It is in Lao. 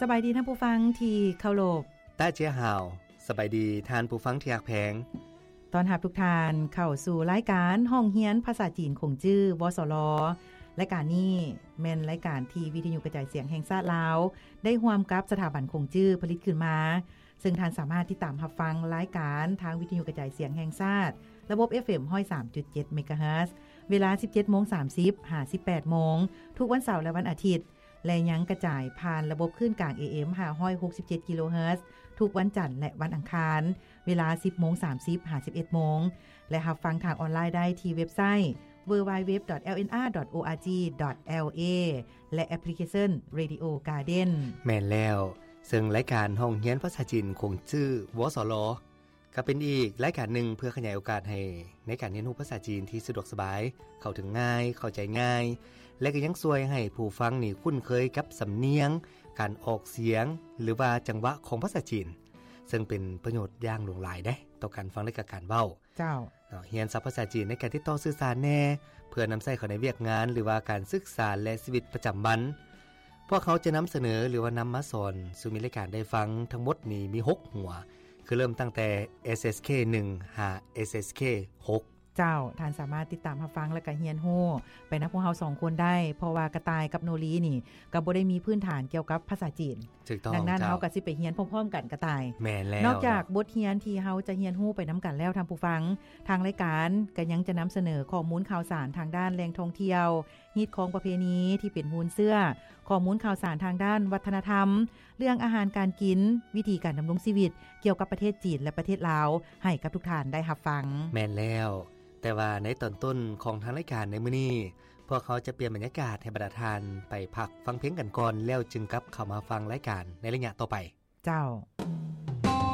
ສະບາຍດີທ່ານຜູ້ຟັງທີ່ເຄົາລົບ. ຕາເຈຍຫາວ ສະບາຍດີທ່ານຜູ້ຟັງທີ່ຮັກແພງ. ຕ້ອນຮັບທຸກທ່ານເຂົ້າສູ່ລາຍການຫ້ອງຮຽນພາສາຈີນຂົງຈື່ ວສລ. ລາຍການນີ້ແມ່ນລາຍການທີ່ວິທະຍຸກະຈາຍສຽງແຫ່ງຊາດລາວ ໄດ້ຮ່ວມກັບສະຖາບັນຂົງຈື່ຜະລິດຂຶ້ນມາ, ເຊິ່ງທ່ານສາມາດຕິດຕາມຮັບຟັງລາຍການທາງວິທະຍຸກະຈາຍສຽງແຫ່ງຊາດ ລະບົບ ເອັຟເອັມ ຮ້ອຍສາມຈຸດເຈັດ ເມກາເຮີດ ເວລາ ສິບເຈັດໂມງສາມສິບ ຫາ ສິບແປດໂມງ ທຸກວັນເສົາ ແລະ ວັນອາທິດ ແລະ ຍັງກະຈາຍຜ່ານລະບົບຄື້ນກາງ ເອເອັມ ຫ້າຮ້ອຍຫົກສິບເຈັດ ກິໂລເຮີດ ທຸກວັນຈັນ ແລະ ວັນອັງຄານ ເວລາ ສິບໂມງສາມສິບ ຫາ ສິບເອັດໂມງ ແລະ ຮັບຟັງທາງອອນລາຍໄດ້ທີ່ເວັບໄຊ www.lnr.org.la ແລະ ແອັບພລິເຄຊັນ Radio Garden. ແມ່ນແລ້ວ, ເຊິ່ງລາຍການຫ້ອງຮຽນພາສາຈີນຂົງຈື່ ວສລ ກໍເປັນອີກລາຍການໜຶ່ງເພື່ອຂະຫຍາຍໂອກາດໃຫ້ໃນການຮຽນຮູ້ພາສາຈີນທີ່ສະດວກສະບາຍ, ເຂົ້າເຖິງງ່າຍ, ເຂົ້າໃຈງ່າຍ ແລະ ກໍຍັງຊ່ວຍໃຫ້ຜູ້ຟັງນີ້ຄຸ້ນເຄີຍກັບສຳນຽງ, ການອອກສຽງ ຫຼືວ່າຈັງຫວະຂອງພາສາຈີນ, ເຊິ່ງເປັນປະໂຫຍດຢ່າງຫຼວງຫຼາຍເດ້ຕໍ່ການຟັງ ແລະ ກະການເວົ້າ. ເຈົ້າ. ເນາະ, ຮຽນສັບພາສາຈີນໃນການຕິດຕໍ່ສື່ສານແດ່ ເພື່ອນຳໃຊ້ເຂົ້າໃນວຽກງານ ຫຼືວ່າການສຶກສາ ແລະ ຊີວິດປະຈຳວັນ. ພວກເຮົາຈະນຳສະເໜີ ຫຼືວ່ານຳມາສອນສູ່ມິດລາຍການໄດ້ຟັງທັງໝົດນີ້ມີຫົກຫົວ, ຄືເລີ່ມຕັ້ງແຕ່ ເອສເອັສເຄ ໜຶ່ງ ຫາ ເອສເອັສເຄ ຫົກ. ເຈົ້າ, ທ່ານສາມາດຕິດຕາມຮັບຟັງ ແລະ ກະຮຽນຮູ້ໄປນຳພວກເຮົາສອງຄົນໄດ້, ເພາະວ່າກະຕ່າຍກັບໂນລີນີ້ກໍບໍ່ໄດ້ມີພື້ນຖານກ່ຽວກັບພາສາຈີນ. ຖືກຕ້ອງ. ດັ່ງນັ້ນ ເຈົ້າ, ເຮົາກໍຊິໄປຮຽນພ້ອມໆກັນ ກະຕ່າຍ. ແມ່ນແລ້ວ. ນອກຈາກບົດຮຽນທີ່ເຮົາຈະຮຽນຮູ້ໄປນຳກັນແລ້ວ ທ່ານຜູ້ຟັງ, ທາງລາຍການກໍຍັງຈະນຳສະເໜີຂໍ້ມູນຂ່າວສານທາງດ້ານແຫຼ່ງທ່ອງທ່ຽວ, ຮີດຄອງປະເພນີທີ່ເປັນມູນເຊື້ອ, ຂໍ້ມູນຂ່າວສານທາງດ້ານວັດທະນະທຳ, ເລື່ອງອາຫານການກິນ, ວິທີການດຳລົງຊີວິດກ່ຽວກັບປະເທດຈີນ ແລະ ປະເທດລາວ ໃຫ້ກັບທຸກທ່ານໄດ້ຮັບຟັງ. ແມ່ນແລ້ວ. ແຕ່ວ່າໃນຕອນຕົ້ນຂອງທາງລາຍການໃນມື້ນີ້, ພວກເຮົາຈະປ່ຽນບັນຍາກາດໃຫ້ບັນດາທ່ານໄປພັກຟັງເພງກັນກ່ອນ, ແລ້ວຈຶ່ງກັບເຂົ້າມາຟັງລາຍການໃນໄລຍະຕໍ່ໄປ. ເຈົ້າ.